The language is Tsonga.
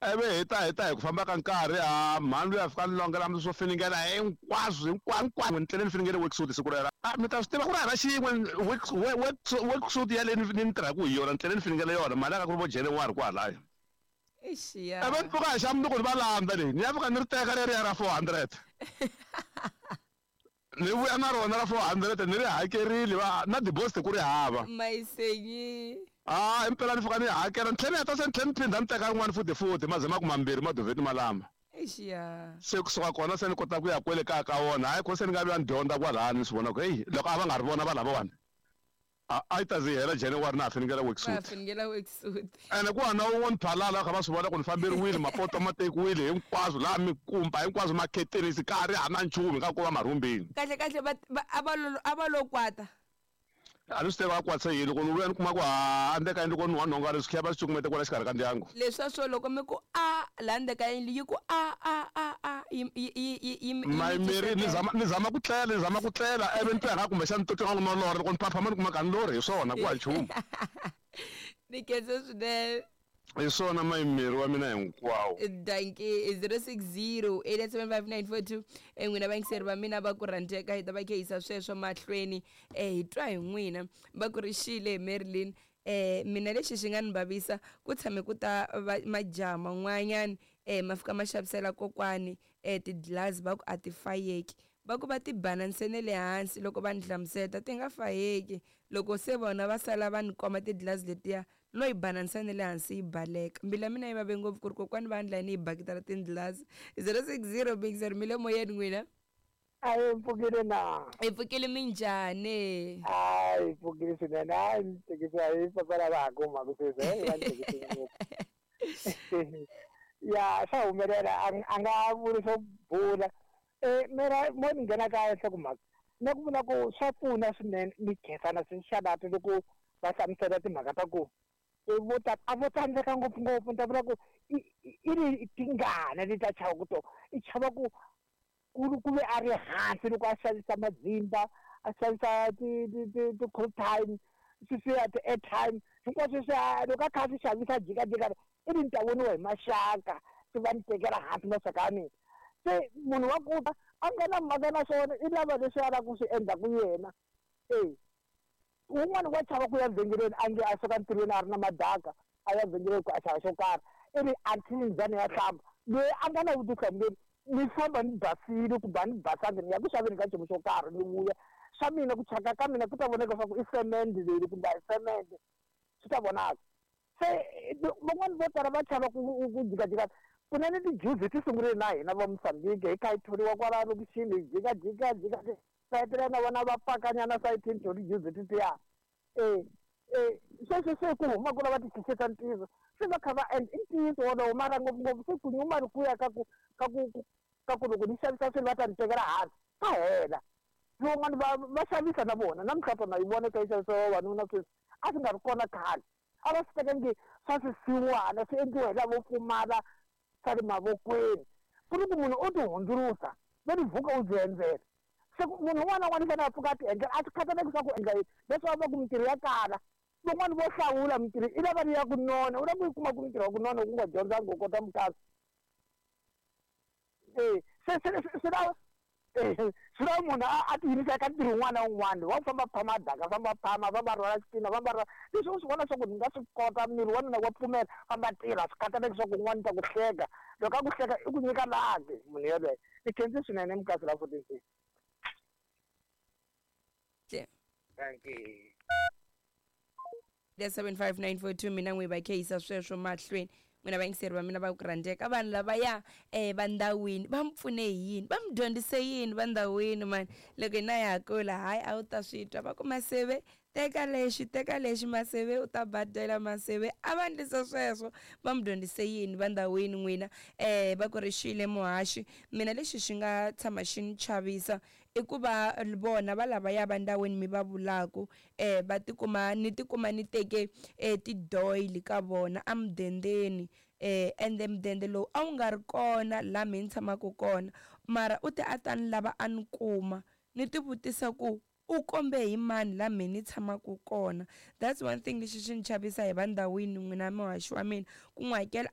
Ivi hi ta hi ku famba ka nkarhi, a mhani luya fika ni longela swo finingela hinkwaswo hinkwaswo hinkwaswo. Ni tlele ni finingele worksuit siku rero. A mi ta swi tiva ku ri hava xin'we worksuit yaleyi ni tirhaka hi yona, ni tlele ni finingele yona mali ya ka ku ri vo January kwalaya. Ixiya. Ivi ni pfuka hi xa mundzuku ni va landza leyi, ni ya fika ni ri teka leriya ra 400, ni vuya na rona ra 400, ni ri hakerile va na deposit ku ri hava. Mayisenyi. A impela ni fika ni hakela, ni tlhela ni heta se ni tlhela ni phinda ni teka rin'wana futhi futhi, maze ma ku mambirhi maduvheti malama. Ixiya. Se kusuka kona se ni kota ku ya kwele kaya ka wona. Hayi, ko se ni nga vuya ni dyondza kwalani, ni swi vona ku heyi, loko a va nga ri vona va lavawani, a yi ta ze yi hela January na ha finingela Va worksuit. Finingela worksuit. Ene ku hana wun'we ni phalala, va kha va swi vona ku ni famberiwile, mapoto ma tekiwile hinkwaswo laha, mikumba hinkwaswo, makhetenisi ka ha ri hana nchumu, nga ko va marhumbini. Kahle kahle va a va lo kwata. A ni swi tivi va kwatise yini. Loko ni vuya ni kuma ku ha endzeni ka yindlu ko nuha nhonga, leswi khiya va swi cukumete kwala xikarhi ka ndyangu. Leswa swo loko mi ku a laha ndzeni ka yindlu yi ku a a a a yi yi yi yi yi mi Mayimeri ni zama ku tlela, ni zama ku tlela, ivi ni twa nga kumbexani ni twa nga ku no lorha. Loko ni phaphama ni kuma ka ni lorhi hi swona, ku ha nchumu. Ni khense swinene. Hi swona, mayimeri wa mina hinkwawo. Dankie. 060 875 942. N'wina vayingiseri va mina va ku rhandzeka, hi ta va khe yisa sweswo mahlweni. Hi twa hi n'wina. Va ku ri xile Marilyn. Mina lexi xi nga ni vavisa, ku tshame ku ta majaha man'wanyana, ma fika ma xavisela kokwani tidlazi, va ku a ti fayeki, va ku va ti bana ntsena le hansi. Loko va ni hlamuseta ti nga fayeki, loko se vona va sala va ni komba tidlazi letiya, no yi bana ntsena le hansi yi baleka. Mbilu ya mina yi vave ngopfu ku ri kokwani va endla yini hi bakiti ra tindlazi. 060 bingizeri mi le moyeni n'wina. A hi pfukile na? Hi pfukile, minjhani? A hi pfukile swinene. A ni tekisiwa hi papa lava ha ku humaka sweswi. Hey, va ni tekise ngopfu. Ya, swa humelela, a nga vuli swo bula. Mera mo ni nghena ka nhlokomhaka na ku vula ku swa pfuna swinene. Ni khensa na swixalati loko va hlamusela timhaka ta ku vo ta a vo tsandzeka ngopfungopfu. Ni ta vula ku i ri tingana leti a chava ku to i chava ku ve a ri hansi loko a xavisa madzimba, a xavisa ti-call time, sweswiya ti-airtime hinkwaswo sweswiya. Loko a kha a swi xavisa, a jikajika, i ri ni ta voniwa hi maxaka, se va ni tekela hansi maxaka ya mina. Se munhu wa ku a nga na mhaka na swona, i lava leswi a lavaka ku swi endlaku yena. E wun'wani wa chava ku ya vhengeleni, a nge a suka ntirhweni a ri na madaka, a ya vhengeleni ku a xava xo karhi, i ri until ni za ni ya hlamba. Loyi a nga na vutihlamuleri, ni famba ni basile kumbe a ni basangi, ni ya ku xaveni ka nchumu xo karhi, ni vuya swa mina, ku thyaka ka mina ku ta vonaka swa ku i semende leyi kumbe a hi semende, swi ta vonaka. Se van'wani vo tala va chava ku jikajika. Kunene tijuzi ti sungurile na hina va Mozambique, hi kha hi thoriwa kwala lokixini, hi jikajika jika, va hetelela na vona va pakanyana sayitini to tijuzi tetiya. E sweswi se ku huma ku lava ti xixeta ntiyiso, se va kha va endla i ntiyiso wolowo, mara ngopfungopfu se ku nyuma ri kuya ka ku loko ni xavisa swilo va ta ni tekela hansi, ka hela. Van'wani va xavisa na vona namuntlha, tona yi vona ka yi xavisa vavanuna sweswi, a swi nga ri kona khale. A va swi teka nge swa swisiwana, swi endliwa hi lavo pfumala swa le mavokweni, ku ri ku munhu o ti hundzulusa va ri vuka u byi endzela. Se munhu un'wana na un'wana i fanele a pfuka a ti endlela, a swi khataleki swa ku endla yini. Leswi va ku mintirho ya kala, van'wani vo hlawula mintirho i lava ri ya ku nona, u lava ku yi kuma ku mintirho ya ku nona ku nga dyondzanga u kota mukasi. E se swi lava munhu a tiyimisela ka ntirho wun'wana na wun'wana wa ku famba phama daka, famba phama, famba rhwala xitina, famba rhwala leswi u swi vona swa ku ni nga swi kota, miri wa mina wa pfumela, famba tirha. Swi khataleki swa ku un'wana ta ku hleka, loko a ku hleka i ku nyika laki munhu yelweyo. Ni khensi swinene mukasi la 14. Thank you. 75942, mina n'wi va kheyisa sweswo mahlweni. N'wina vayingiseri va mina va ku rhandzeka, vanhu lavaya va ndhawini va mi pfune hi yini, va mi dyondzise yini va ndhawini mani? Loko hina ya ha kula, hayi, a wu ta swi twa va ku maseve teka lexi, teka lexi, maseve u ta badela, maseve a va endlisa sweswo. Va mi dyondzise yini va ndhawini n'wina? Va ku ri xile muhaxi. Mina lexi xi nga tshama xi ni chavisa i ku va vona va lavaya va ndhawini mi va vulaku, va tikuma ni tikuma ni teke tidoyili ka vona emudendeni, ende mudende lowu a wu nga ri kona laha mina ni tshamaka kona, mara u te a ta ni lava a ni kuma. Ni ti vutisa ku u kombe hi mani laha mina ni tshamaka kona. That's one thing lexi xi ni chavisa hi va ndhawini n'wina muhaxi wa mina ku n'wi hakela.